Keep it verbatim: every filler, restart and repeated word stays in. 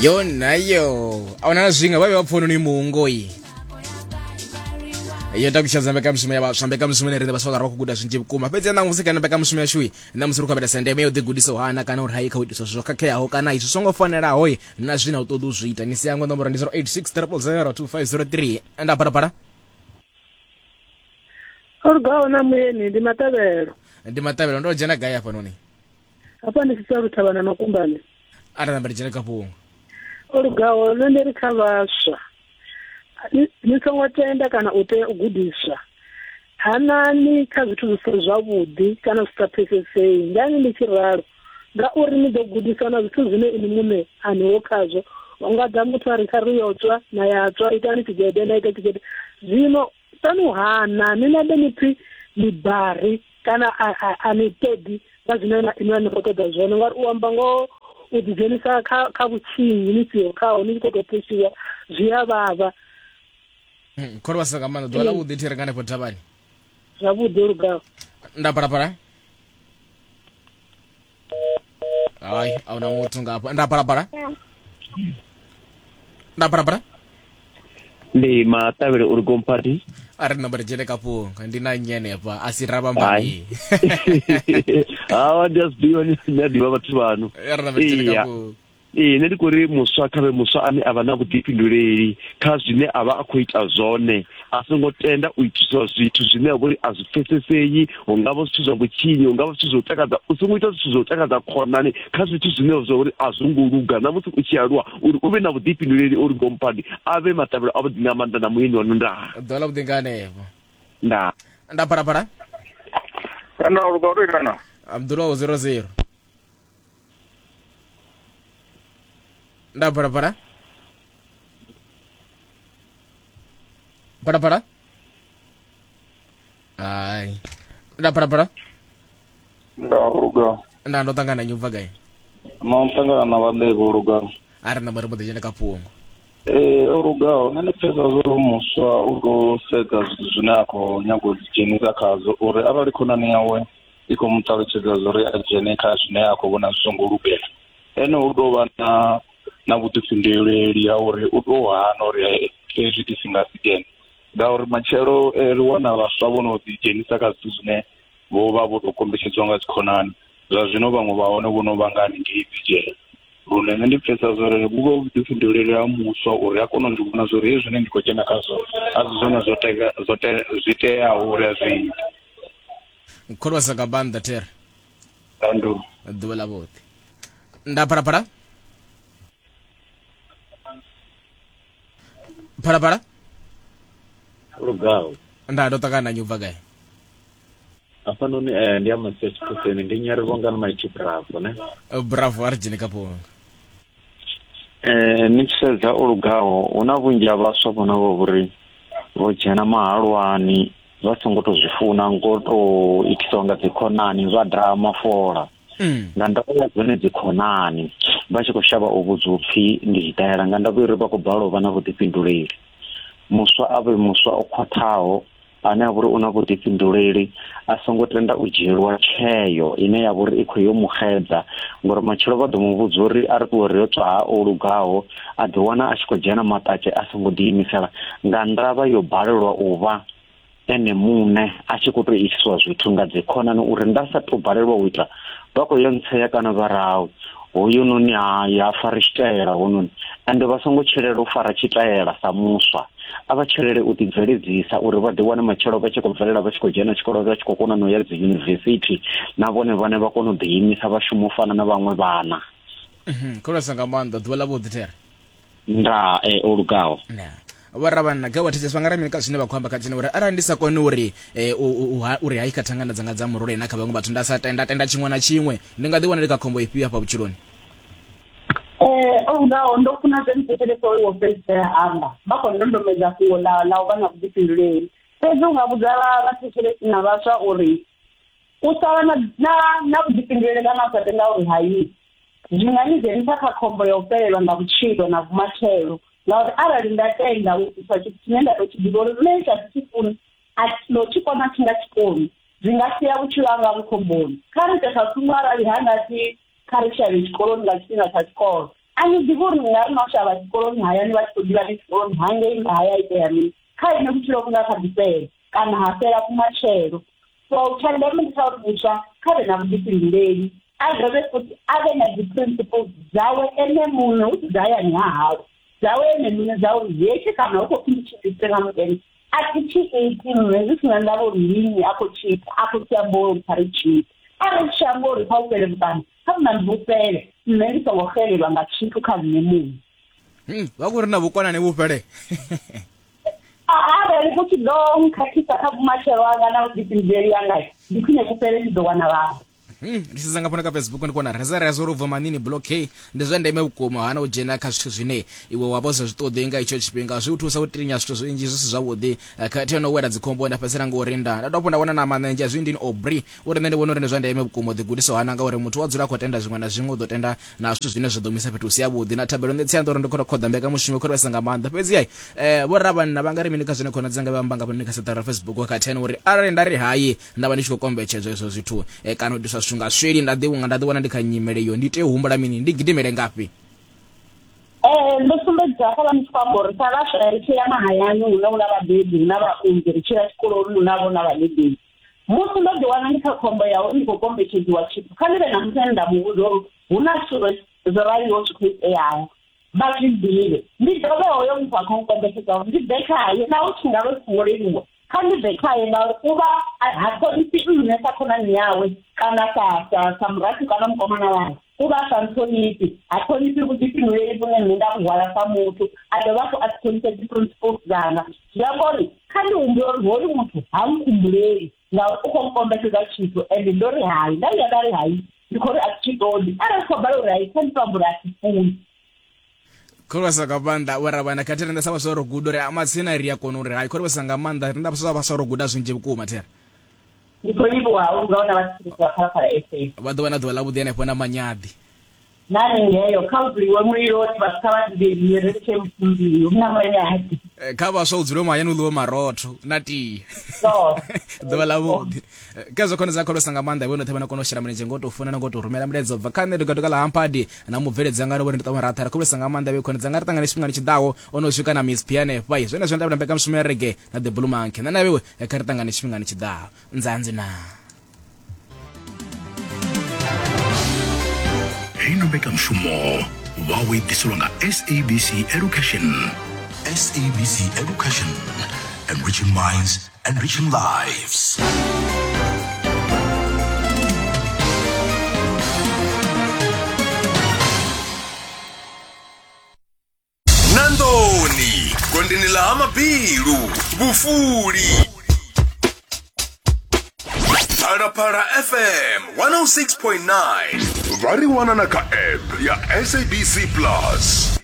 Yo nayo a huna zwinga vha vhe vha pfoni ni muungoi yo takutshedza mbekamishumo ya vhaswa, mbekamishumo ine riṋe vhaswa vha khou guda zwinzhi vhukuma. Fhedzi ṋamusi kana mbekamishumo yashu ṋamusi ri khou avhelesa ndeme ya u ḓigudisa u hana kana uri hai kha u itiswa zwithu zwo khakheaho kana izwi songo fanelaho na zwine u ṱoḓa u zwi ita. Ni si yangwe, nomboro ndi zero eight six triple zero two five zero three. Nda phalaphala. O lugaho na muyeni ndi Maṱavhelo. Ndi Maṱavhelo, ndo dzhena gai hafhanoni? Hafha ndi Tshisalu Thavhana Makumbane. Arali namba ndi dzhene kha fhungo. O lugaho, nṋe ndi ri kha vhaswa ni ni songo tenda kana u tea u gudiswa, hanani kha zwithu zwi si zwavhuḓi kana zwi sa pfesesei. Ngani ndi tshi ralo? Ngauri ni ḓo gudiswa na zwithu zwine ini muṋe a niho khazwo. U nga ḓa muthu a ri kha ri yo tswa na ya tswa, itani tshigede na ita tshigede. Zwino tani u hana ni nabe ni pfhi ni bari kana a ni ṱoḓi nga zwine na inwi a ni khou ṱoḓa zwone, ngauri u amba ngoho u ḓidzhenisa kha kha vhutshinyi ni siho khaho, ni tshi khou tou phushiwa, zwi a vhavha. Kholo vhasa nga maanḓa, ḓuvha ḽa vhuḓi thi ri nga hanefho thavhani. Zwavhuḓi, o lugaho. Nda phalaphala. Hai, a huna muthu nga hafha. Nda phalaphala, nda phalaphala. Ndi Maṱavhele uri gompati. A ri namba ri dzhene kha fhungo, ndi na nnyi hanefha a si ravhambani? Hawa, ndi a zwi ḓivha, ndi a ḓivha vhathu vhanu. A ri namba ri dzhene kha Iya. fhungo. Ee, nṋe ndi khou ri muswa kha vhe muswa ane a vha na vhuḓifhinduleli kha zwine a vha a khou ita zwone, a songo tenda u itiswa zwithu zwine a vhori a zwi pfesesei. Hu nga vha zwithu zwa vhutshinyi, hu nga vha zwithu zwa u takadza. U songo ita zwithu zwa u takadza khonani kha zwithu zwine zwa uri a zwo ngo luga. Na musi u tshi aluwa uri u vhe na vhuḓifhinduleli. Uri gompadi a vhe Maṱavhelo avhuḓi nga maanḓa na muyeni wanu. Ndaa. Ḓuvha ḽa vhuḓi nga hanefho. Ndaa. Nda phalaphala. Kana o luga, uri kana Abdullah zero zero. Nda phalaphala, phalaphala. Hai, nda phalaphala. Nda luga. Nda ndo ṱangana nnyi, u bva gai? No ṱangana na vhaḓevhe, o luga. A ri namba ri mbo ḓi dzhena kha fhungo. Ee, o lugaho, nṋe ndi pfhesesa zwo muswa u tou sedza zwithu zwine a khou nyaga u ḓidzhenisa khazwo, uri arali khonani yawe i khou mu ṱalutshedza zwa uri a dzhene kha zwine a khou vhona zwi songo lugela, ene u tou vha na na vhuḓifhinduleli ha uri u tou hana uri hezwi ndi si nga si dzhene, ngauri matshelo ri wana vhaswa vho no ḓidzhenisa kha zwithu zwine vho vha vho tou kombetshedziwa nga dzikhonani. Zwa zwino vhaṅwe vha hone vho no vha nga haningei dzi dzhele. Lune nṋe ndi pfhesesa zwa uri vhu vha vhuḓifhinduleli ha muswa uri a kone u zwi vhona zwa uri hezwi zwine ndi khou dzhena khazwo a si zwone zwo tea zwo te zwi teaho uri a zwi ite. Kholo vhasa nga maanḓa there. Ndandu. Ḓuvha ḽa vhuḓi. Nda phalaphala, phalaphala. Lugaho. Nda ndo ṱangana nnyi, u bva gai? Hafhanoni eh, ndi ya Masia Tshiphuseni, ndi nyari vhongani maitshi bravo ne. Bravo, a ri dzhene kha fhungo. Eh, ni tshi sedza, o lugaho, hu na vhunzhi ha vhaswa vhone vho uri vho dzhena mahalwani vha songo to zwi funa, ngo to itisiwa nga dzikhonani, vha daha mafola nga ndavha ya dzone dzikhonani, vha tshi khou shavha u vhudzwa upfhi ndi tshitaela, nga ndavha uri vha khou balelwa u vha na vhuḓifhinduleli. Muswa a vhe muswa o khwaṱhaho ane a vha uri u na vhuḓifhinduleli, a songo tenda u dzhielwa tsheo ine ya vha uri i khou yo mu xedza, ngori matshelo vha ḓo mu vhudza uri a ri ṱuwe ri yo tswa ha o lugaho, a ḓi wana a tshi khou dzhena maṱatshe a songo ḓiimisela nga ndavha yo balelwa u vha ene muṋe, a tshi khou tou iswa zwithu nga dzikhonani, uri nda sa tou balelwa u ita vha khou yo ntsea kana vha rahu hoyunoni hai ha fari tshitaela hononi. Ende vha songo tshilela u fara tshitaela sa muswa, a vha tshilele u ḓibveledzisa uri vha ḓi wane matshelo vha tshi khou bvelela, vha tshi khou dzhena tshikolo, vha tshi khou kona no ya dzi yunivesithi, na vhone vhane vha kona u ḓiimisa, vha shuma u fana na vhaṅwe vhana. Kholo vhasa nga maanḓa, ḓuvha ḽa vhuḓi there. Nda e o lugaho. Vhoravhanna kha vha thetshelesa, vha nga ri mini kha zwine vha khou amba kha tshine uri arali ndi sa koni uri eh, u- u- u ha- uri hai kha thangana dzanga dza murole na kha vhaṅwe vhathu nda sa tenda tenda tshiṅwe na tshiṅwe, ndi nga ḓi wana ndi kha khombo ifhio hafha vhutshiloni? Eh, o lugaho, ndo funa zwe muthetshelesa wo fhedzisela amba, vha khou ndondomedza fhungo ḽa ḽa u vha na vhuḓifhinduleli. Fhedzi u nga vhudza vhathetshelesi na vhaswa uri u sa vha na na na vhuḓifhinduleli kana u sa tenda uri hayi zwi nga ni dzhenisa kha khombo ya u fhelelwa nga vhutshilo na vhumatshelo, ngauri arali nda tenda u itiswa tshithu tshine nda tou tshi ḓivha uri nṋe tsha thi tshi funi, a no tshi kona thi nga tshi koni, zwi nga sia vhutshilo hanga vhu khomboni. Kha ri ite sa tsumbo, arali ha nga pfi kha ri shavhe tshikoloni nga tshifhinga tsha tshikolo A ni ḓivhi uri ni nga ri no shavha tshikoloni hayani vha tshi khou ḓivha ni tshikoloni hangei nga haya itea mini, kha ine vhutshilo vhu nga kha ḓi fhela kana ha fhela kumatshelo. So tsha ndeme ndi tsha uri muswa kha vhe na vhuḓifhinduleli, a dovhe futhi a vhe na dzi principles dzawe ene muṋe, hu si dza hayani ha hawe, dzawe ene muṋe dza uri hetshi kana hu khou pfhi ndi tshi ite nga mutende a thi tshi iti nṋe zwi si na ndavha uri ndi nnyi a khou tshi ita, a khou tshi amba uri kha ri tshi ite. Arali tshi amba uri kha u fhele vhuṱambo, kha vhuṋambi vhu fhele, nṋe ndi songo xelelwa nga tshithu kha nṋe muṋe. Vha khou ri na vhukonani vhu fhele. Arali vhu tshi ḓo nkhakhisa kha vhumatshelo hanga na vhuḓifhinduleli hanga, ndi khwine vhu fhele, ndi ḓo wana vhaṅwe. Ndi sedza nga fhano kha Facebook ndi kona reza reza uri ubva manini block ndi zwa ndeme vhukuma hana u dzhena kha zwithu zwine iwe wa vha sa zwi ṱoḓi nga itsho tshifhinga, zwi u thusa u tinya zwithu zwinzhi zwi si zwavhuḓi khathihi no wela dzikhombo nda fhedzisela ngo ri nda nda dovha nda wana na manenzhe zwi ndini Aubrey uri nṋe ndi vhona uri ndi zwa ndeme vhukuma u ḓigudisa hana ngauri muthu wa dzula a khou tenda zwiṅwe na zwiṅwe u ḓo tenda na zwithu zwine zwa ḓo muisa fhethu hu si havhuḓi. Na thabelo nṋe tsianda uri ndi khou khoḓa mbekanyamushumo khou vhesa nga maanḓa fhedzi ai eh vho ravhanna vha nga ri mini kha zwine khona dzanga vha amba nga fhano kha seṱara Facebook khathihi uri arali nda ri hayi nda vha ndi tshi khou kombetshedzwa izwo zwithu kana u diswa zwithu nga sweli nda ḓi vhunga nda ḓi wana ndi kha nyimele iyo ndi tea u humbula mini, ndi gidimele ngafhi? Eh ndo sumbedza kha vha ndi khou amba uri sa vhaswa ri tshila mahayani hune hu na vhabebi, hu na vhaunzi, ri tshila tshikoloni hu na vho na vhadededzi. Musi ndo ḓi wana ndi kha khombo ya uri ndi khou kombetshedziwa tshithu, kha ndi vhe na muthu ane nda mu vhudza uri hu na zwithu zwo raliho zwi khou iteaho, vha zwi ḓivhe. Ndi dovhe hoyo muthu a khou nkombetshedza uri ndi bve khaye, naho tshi nga vha zwi songo leluwa, kha ndi bve khaye ngauri u vha ha ṱhonifhi nṋe sa khonani yawe kana sa sa sa murathu kana mukomana wawe, u vha sa nṱhonifhi, ha ṱhonifhi vhuḓifhinduleli vhune nṋe nda vhu hwala sa muthu, a dovha hafhu a si ṱhonifhe dzi principles dzanga. Zwi amba uri kha ndi humbule uri hoyu muthu ha nkhumbuleli ngauri u khou nkombetshedza tshithu ende ndo ri hai, nda vhuya nda ri hai ndi khou ri a thi tshi ṱoḓi. Arali khou bala uri hai, kha ndi to amba uri a thi funi. Khou nga maanḓa vho ravhana khathihi riṋe sa vhaswa ro guda uri matsina ri a kona uri hai, khou vhesa nga maanḓa riṋe vhaswa vhaswa ro guda zwinzhi vhukuma. Thera ndi khou livhuwa u nga wana vhathu vha Phalaphala F M vha ḓo vha na ḓuvha ḽavhuḓi henefho na manyaḓi na ningeyo kha u dzuliwe muliloni vhathu kha vha ḓivhe ri tshe mufumbi hu na manyaḓi kha vhaswa u dzule mahayani u ḽiwe marotho na tie ḓuvha ḽavhuḓi. Khezwo khone dza kholosa nga maanḓa vho noṱhe vha na kona u shela mulenzhe ngo to funa na ngo to rumela mulaedza bva kha nṋe dugaduga ḽa Hampadi na mubveledzi anga ro vhone ndi ṱama ratha kholosa nga maanḓa vhe khone dzanga ri ṱangane tshifhingani tshiḓaho ono swika na Miss P hanefha zwenezwo nda vhona mbekanyamushumo ya reggae na The Blue Monkey nṋe na vhewe kha ri ṱangane tshifhingani tshiḓaho nzanzi na Heino mbekanyamushumo vha wo ḓiselwa nga S A B C Education. S A B C Education, enriching minds, enriching lives. Nandoni, gondeni la Hamabilu, Vhufuli. Phalaphala F M one oh six point nine. Vha ri wana na kha app ya S A B C Plus.